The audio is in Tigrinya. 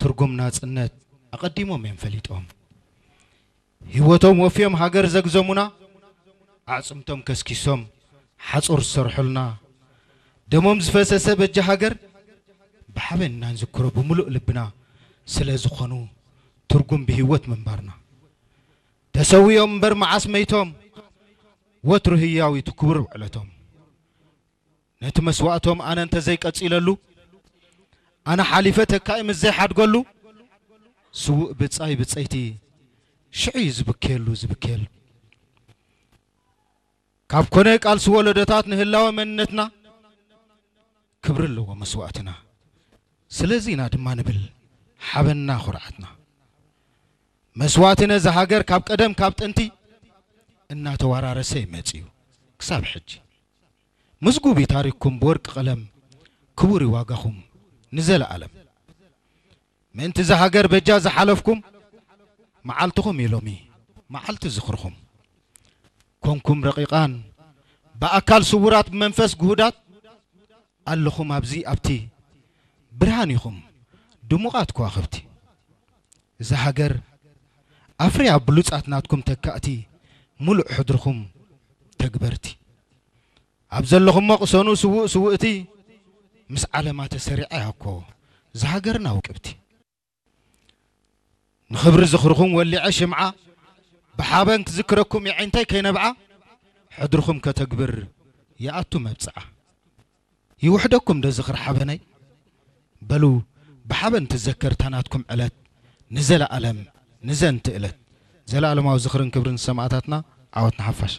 ትርጉም ናጽነት ኣቐዲሞም እዮም ፈሊጦም። ህይወቶም ወፍዮም ሃገር ዘግዘሙና፣ ኣዕጽምቶም ከስኪሶም ሓጹር ዝሰርሑልና፣ ደሞም ዝፈሰሰ በጃ ሃገር ብሓበን ኢና ንዝክሮ ብምሉእ ልብና። ስለ ዝኾኑ ትርጉም ብህይወት ምንባርና። ተሰዊኦም እምበር መዓስ መይቶም፣ ወትሩ ህያው እዩ እቲ ክቡር ውዕለቶም። ነቲ መስዋእቶም ኣነ እንተዘይቀጺለሉ፣ ኣነ ሓሊፈ ተካኢ ምስ ዘይሓድገሉ፣ ስዉእ ብጻይ ብጸይቲ ሽዑ እዩ ዝብከየሉ ዝብከየሉ። ካብ ኮነ ቃልሲ ወለዶታት ንህላወ መንነትና ክብሪ ኣለዎ መስዋእትና። ስለዚ ኢና ድማ ንብል ሓበንና ኩርዓትና። መስዋእቲ ነዛ ሃገር ካብ ቀደም ካብ ጥንቲ እናተወራረሰ እዩ መጺኡ ክሳብ ሕጂ። ምዝጉብ እዩ ታሪኽኩም ብወርቂ ቀለም፣ ክቡር እዩ ዋጋኹም ንዘለኣለም። ምእንቲ እዛ ሃገር በጃ ዝሓለፍኩም፣ መዓልትኹም እዩ ሎሚ መዓልቲ ዝኽርኹም። ኮንኩም ረቂቓን ብኣካል ስዉራት ብመንፈስ ግሁዳት ኣለኹም ኣብዚ ኣብቲ ብርሃን ኢኹም ድሙቓት ከዋኽብቲ። እዛ ሃገር ኣፍርያ ብሉጻት ናትኩም ተካእቲ፣ ሙሉእ ሕድርኹም ተግበርቲ። ኣብ ዘለኹሞ ቅሰኑ ስዉእ ስውእቲ፣ ምስ ዓለማ ተሰሪዓ እያ እኮ እዛ ሃገርና ውቅብቲ። ንኽብሪ ዝኽርኹም ወሊዐ ሽምዓ፣ ብሓበን ክዝክረኩም የዒንተይ ከይነብዓ፣ ሕድርኹም ከተግብር ይኣቱ መብጽዓ። ይውሕደኩም ዶ ዝኽሪ ሓበነይ? በሉ ብሓበን ትዘከር እታ ናትኩም ዕለት፣ ንዘለኣለም ንዘንቲ እለት። ዘለኣለማዊ ዝኽርን ክብርን ሰማእታትና። ዓወት ንሓፋሽ።